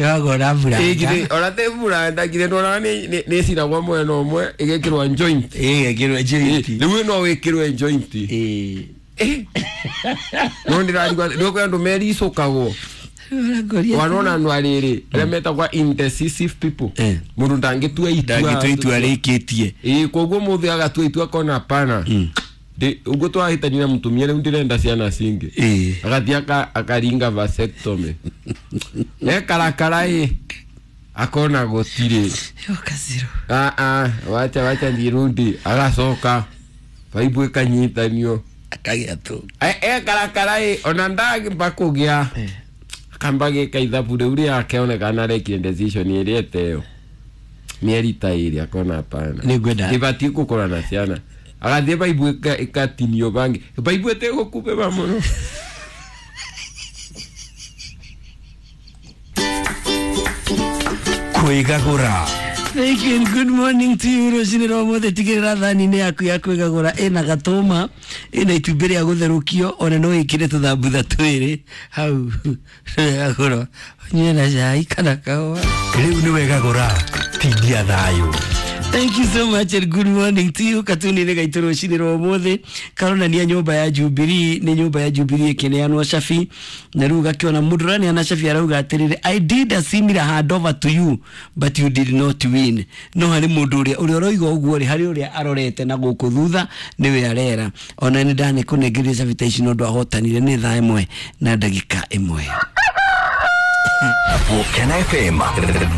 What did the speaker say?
Wagora buranda. Ona te buranda githĩ ndwonaga nĩ ĩcinagwo mwena ũmwe ĩgekĩrwo joint. Ĩgekĩrwo joint. Rĩu no wĩkĩrwo joint. Ĩĩ. No ndĩrarigwo nĩ kwĩ andũ mericũkagwo. Ũrangoria. Wanona andũ arĩrĩ arĩa metagwo indecisive people. Eh. Mũndũ ndangĩtua itua. Ndangĩtua itua rĩkĩtie. Ĩĩ, koguo mũthĩ agatua itua akona hapana. Ũguo twahĩtania na mũtumia rĩu ndĩrenda ciana cingĩ. Ĩĩ. Agathiĩ akaringa vasectomy. Ekarakara ĩ akona gũtirĩ. Yoka zero. Ah, ah, wacha wacha ndirudi. Agacoka baibu ĩkanyitanio. Akagĩa tu. Ekarakara ĩ ona ndagĩmba kũgĩa akamba gĩka ithabu rĩu rĩake onekana arekire decision ĩrĩa ĩteo mĩeri ta ĩrĩ akona hapana, Nĩngwenda. ĩbatiĩ gũkorwo na ciana, agathiĩ baibu ĩkatinio bangi baibu ĩtĩgũkubĩba mũno. Kwĩgagũra. Thank you and good morning to you. Rũcinĩ rwa ũmũthĩ tigĩrĩra thani-inĩ yaku ya kwĩgagũra ĩna gatũma, ĩna itumbĩ rĩa gũtherũkio, ona no wĩkĩre tũthambutha twĩrĩ hau wegagũra ũnyue na cai kana kahũa. Rĩu nĩ wegagũra tindia thayũ. Thank you so much and good morning to you. Katuni-inĩ gaitũ rũcinĩ rwa ũmũthĩ karonania nyũmba ya Jubilee, nĩ nyũmba ya Jubilee ĩkĩneanwo cabi, na rĩu gakĩona mũndũ ũraneana cabi arauga atĩrĩrĩ, "I did a similar handover to you but you did not win." No harĩ mũndũ ũrĩa ũrĩa ũroiga ũguo rĩ, harĩ ũrĩa arorete na gũkũ thutha nĩwe arera ona nĩ ndanĩkũnengeria cabi ta ici no ndwahotanire. Nĩ thaa 1:01. Gũkena FM.